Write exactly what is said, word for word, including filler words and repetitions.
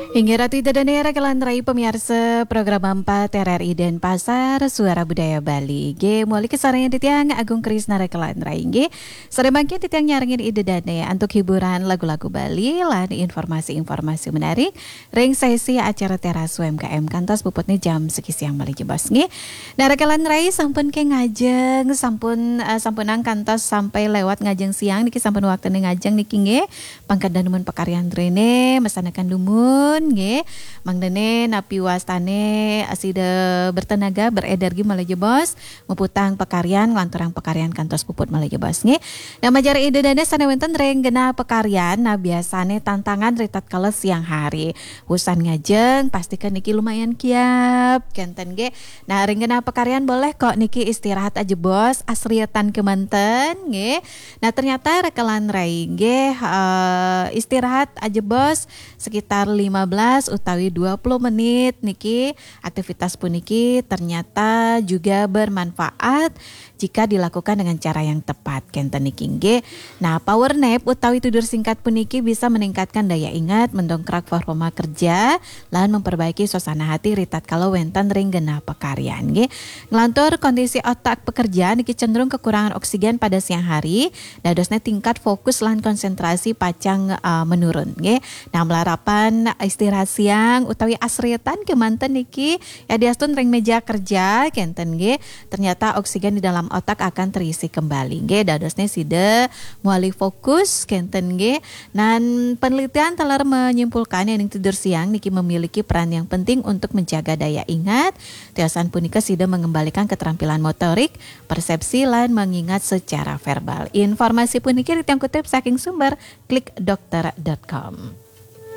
Inggih Ratu Ida Dane, rekan rai pamiarsa program empat R R I Denpasar, Suara Budaya Bali. Nggih, muli kasarengin titiang Agung Krisna, rekan rai nggih. Sareng mangkin titiang nyarengin Ida Dane antuk hiburan lagu-lagu Bali lan informasi-informasi menarik ring sesi acara Teras U M K M kantos puputne jam siki siang malih jebos nggih. Nah, rekan rai sampun ke ngajeng, sampun, eh, sampunang kantos sampai lewat ngajeng siang niki, sampun waktune ngajeng niki nggih. Pangkada nemen pakaryan rene, mesanakan dumun nggih. Mangdane napi wastane sida bertenaga, berenergi malih jebos, muputang pakaryan, nglanturang pakaryan kantos puput malih jebos nggih. Nah, majeng Ida Dane sane wenten ring genah pakaryan, nah, biasane tantangan ritatkala siang hari. Wusan ngajeng, pastikan niki lumayan kiap, kenten nggih. Nah, ring genah pakaryan boleh kok niki istirahat ajebos, asrietan kemanten nggih. Nah, ternyata rekan rai nggih, eh, istirahat ajebos sekitar lima belas utawi dua puluh menit niki, aktivitas puniki ternyata juga bermanfaat jika dilakukan dengan cara yang tepat, kenten niki nggih. Nah, power nap utawi tidur singkat puniki bisa meningkatkan daya ingat, mendongkrak performa kerja, lan memperbaiki suasana hati ritatkala wenten ring genah pakaryan nggih. Nglantur kondisi otak pekerja niki cenderung kekurangan oksigen pada siang hari, dadosne tingkat fokus lan konsentrasi pacang, eh, menurun nggih. Nah, malarapan istirahat siang utawi asrietan kemanten niki yadiastun ring meja kerja kenten nggih. Ternyata oksigen di dalam otak akan terisi kembali nggih. Dadosne sida mawali fokus kenten nggih. Nah, penelitian taler menyimpulkan yen tidur siang niki memiliki peran yang penting untuk menjaga daya ingat. Tiosan punika sida mengembalikan keterampilan motorik, persepsi, lan mengingat secara verbal. Informasi puniki titiang kutip saking sumber klik dokter dot com.